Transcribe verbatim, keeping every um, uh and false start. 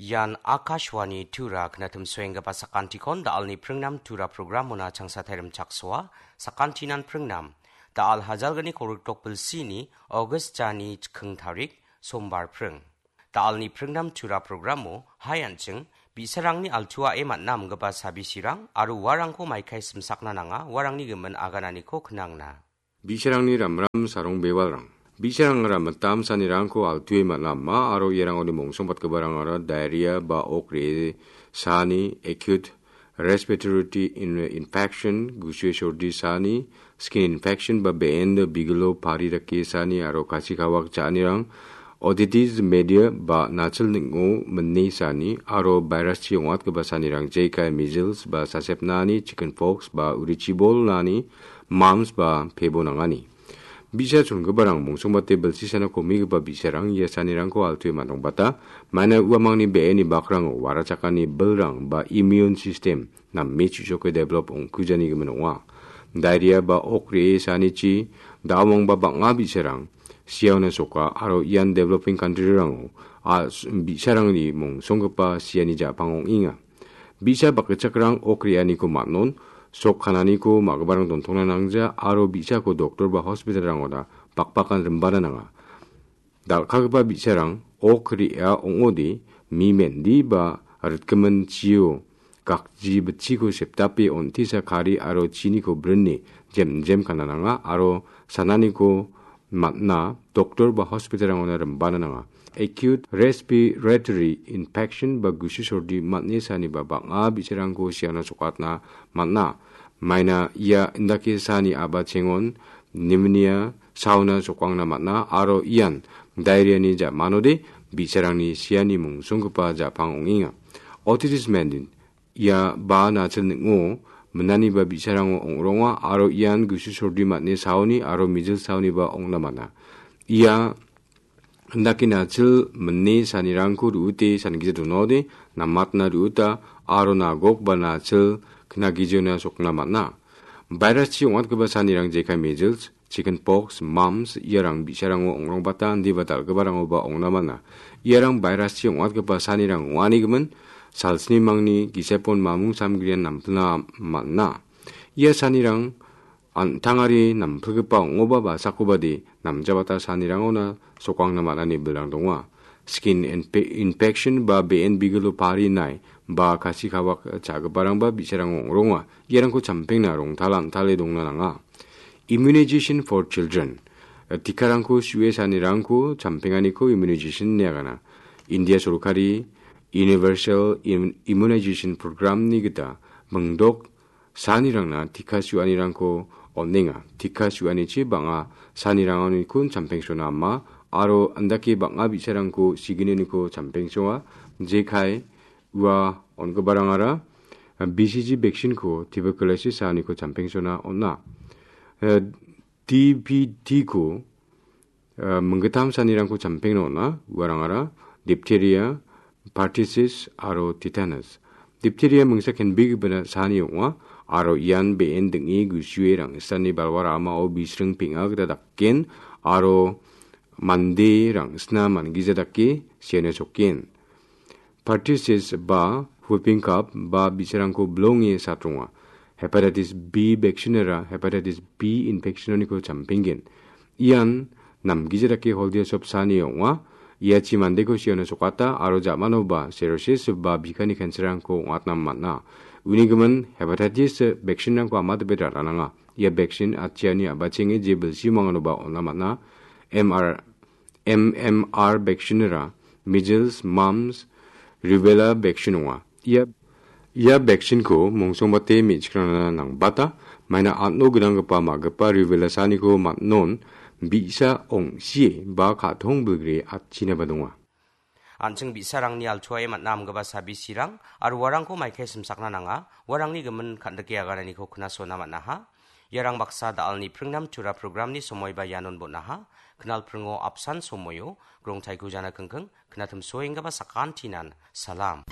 Ian Akashvani Tura knatim suenggipa sakantikon da·alni pringnam Tura programona changsatai rimchaksoa, sakantinan pringnam. Da·al hajalgni kolgrikdok bilsini August jani chiking tarik, Sombar pring. Da·alni pringnam Tura programo hai an·ching, bi·sarangni altuae man·a amgipa sabisirang aro uarangko maikai simsakna nanga, uarangni gimin agananiko knangna. Bi·sarangni ramram sarong bewalrang. Bi·sarangara mitam sanirangko altue man·a ama aro iarangoni mongsongbatgiparangara diarrhea ba ok re·e sani, acute respiratory in-, infection, gusue sordi sani, skin infection ba be·en bigilo pari dake sani aro kasik hawak cha·anirang, otitis media ba nachil ning·o mine sani aro viruschi ong·atgipa sanirang jekai measles ba sasepnani, chicken pox ba urichibolnani, mumps ba pebo nangani. Bi·sa chongiparang mongsongbate bilsisana komigipa bi·sarang ia sanirangko altue man·ongbata, maina uamangni be·eni bakrango warachakani bilrang ba immune system name chu·soke develop ong·kujani gimin ong·a. Diarrhea ba ok re·e sanichi da·omangba bang·a bi·sarang siaona soka aro ian developing country-rango a-, bi·sarangni mongsonggipa siani ja·pang ong·enga. Bi·sa bakgichakrang ok re·aniko man·on, sok kananiko ma·giparang dontongna nangja aro bi·sako doktor ba hospital-rangona bakbakan rimbana nanga. Dal·kagipa bi·sarang ok re·a ong·ode mi mendi ba ritgimin chio gakji bitchiko sepdape on·tisa kari aro chiniko brine jem jem kana nanga aro sananiko man·a, doktor ba hospital-rangona rimbana nanga. Acute respiratory infection ba gusu sordi man·e saniba bang·a bi·sarangko siana sokatna man·a. Maina ia indake sani abachengon pneumonia saona sokangna man·a aro ian diarrhea-ni ja·manode bi·sarangni siani mongsonggipa ja·pang ong·enga. Otitis mendi, ia ba nachil ning·o minaniba bi·sarango ong·ronga aro ian gusu sordi man·e saoni aro mijil saoniba ong·na man·a. Ia indake nachil mine sanirangko ru·ute sangija donaode namatna ru·uta aro nagok ba nachil knagijiona sokna man·a. Viruschi ong·atgipa sanirang jekai measles, chicken pox, mumps, iarang bi·sarango ong·rongbata indiba dal·giparangoba ong·na man·a. Iarang viruschi ong·atgipa sanirang ong·anigimin, salsnimangni gisepon mamung samgrian nampilna man·a. Ia sanirang an·tangari nampilgipa ong·oba ba sakobade namjabata sanirangona sokangna man·ani bilrang donga. Skin infe-, infection ba be·en bigilo pari nai ba kasi kawak cha·giparangba bi·sarango ong·ronga. Iarangko champengna rongtala an·tale dongna nanga. Immunization for children. Tikarangko su·e sanirangko champenganiko immunization ine agana. India sorkari Universal Im-, Immunization Program-ni gita mingdok sanirangna tika su·anirangko on·enga. Tika su·anichi bang·a sanirangonikon champengsona ama aro andake bang·a bi·sarangko sigineniko champengsoa. Jekai ua on·giparangara B C G vaccine-ko tuberculosis saaniko champengsona on·a. Eh, D P T-ko, eh, minggittam sanirangko champengna on·a. Uarangara diphtheria, pertussis aro tetanus. Diphtheria mingsa kenbegipana saani ong·a, aro ian be·en ding·e gusue rangsani balwa ramao bisring peng·a gita daken, aro mande rangsna mangija dake siana sokken. Pertussis ba whooping cough ba bi·sarangko bilonge satronga. Hepatitis B vaccine-ara hepatitis B infection-oniko champenggen. Ian namgija dake holdia sopsani ong·a. Iachi mandeko siana sokata aro ja·manoba cirrhosis ba bikani cancer-rangko ong·atna man·a. Uni gimin hepatitis vaccine-rangko amatabe ra·rananga. Ia vaccine atchiani a·bachenge je bilsimanganoba on·a man·a. M R M M R vaccine-ara measles, mumps, rubella vaccine ong·a. Ia, ia vaccine-ko mongsongbate me·chikrangna nangbata, maina an·o gnanggipa ma·gipa rubella saniko man·on bi·sa ong·sie ba ka·tong bilgre atchinaba donga. An·ching bi·sarangni altuae man·a amgipa sabisirang aro uarangko maikai simsakna nanga, uarangni gimin kan·dike agananiko knasona man·aha. Iarang baksa da·alni pringnam tura programni somoiba ianon bon·aha. Knal pringo apsan somoio, grongtaiko jana kingking, knatim soenggipa sakantinan, salam.